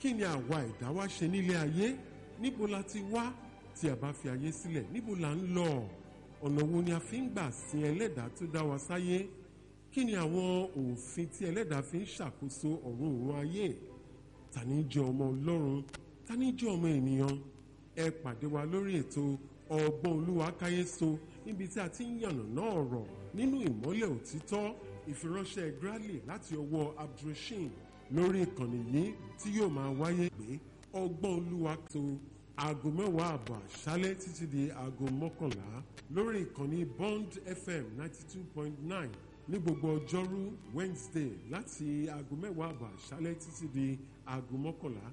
Kí ni àwa ẹ̀dá wa ṣe nílé ayé? Níbo la ti wá? Tí a bá fi ayé sílẹ̀, níbo la ń lọ? Ọ̀nà wo ni a fi ń gbà sin ẹlẹ́dàá tó dá wa sáyé? Kí ni àwọn òfin tí ẹlẹ́dàá fi ń ṣàkóso ọ̀run òun ayé? Ta ni jẹ́ ọmọ Ọlọ́run? Ta ni jẹ́ ọmọ ènìyàn? Ẹ pàdé wa lórí ètò Ọgbọ́n Olúwa Káyéso, níbi tí a ti ń yànnàná ọ̀rọ̀ nínú ìmọ́lẹ̀ òtítọ́. Ìfiránṣẹ́ Grally láti ọwọ́ Abdulrasheed lórí ìkànnì yìí tí yóò máa wáyé pé Ọgbọ́n Olúwa tó 10:30 àṣálẹ́ títí di 11:00 lórí ìkànnì Bond FM 92.9 ní gbogbo ọjọ́rú Wednesday láti 10:30 àṣálẹ́ títí di 11:00.